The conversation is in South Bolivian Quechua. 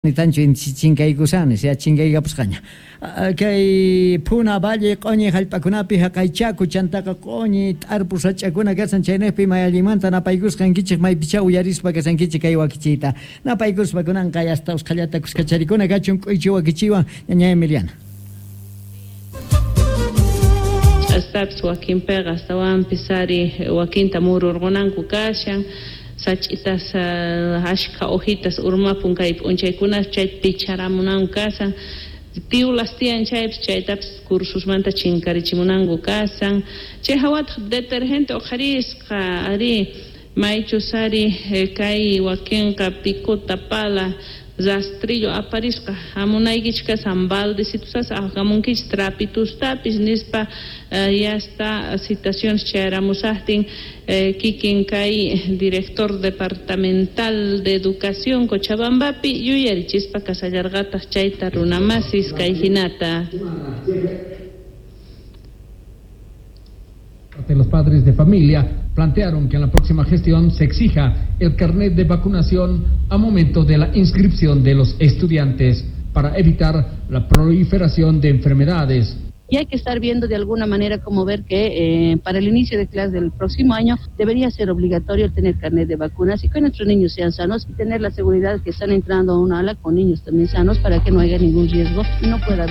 Nitanchu chinkaykusani, sea chinkaykapusqaña. Kay Puna Valle q'oñi jallp'akunapi jaqay chaku chantaqa q'oñi t'arpu sach'akuna kashan chaynejpi may allinmanta napaykusqankichej maypichá uyarispa kashankichej kay wakichiyta. Napaykuspa kunanqa yasta usqhallata kuskacharikuna kachun k'uychi wakichiywan ñaña Emiliana. Ch'astapis wakinpiqa astawanpis ari wakinta mururqunanku kashan sach'itas ashkha hojitas urmapun kay p'unchaykunapi chayta picharamunanku kashan tiwlas tiyan chaypis chaytapis cursusmanta chinkarichimunanku kashan chay hawataq detergente uqharisqa ari maychus ari kay wakinqa picota pala rastrillo aparisqa hamunaykichik kashan baldecitusas aqamunkichik trapitustapis nispa yasta citaciones chayaramusaqtin kikin kay director departamental de educación Cochabambapi yuyarichispa kashallarqataq chayta runamasis kay hinata. Los padres de familia plantearon que en la próxima gestión se exija el carnet de vacunación a momento de la inscripción de los estudiantes para evitar la proliferación de enfermedades. Y hay que estar viendo de alguna manera cómo ver que para el inicio de clases del próximo año debería ser obligatorio el tener carnet de vacunas y que nuestros niños sean sanos y tener la seguridad que están entrando a un ala con niños también sanos para que no haya ningún riesgo y no pueda haber.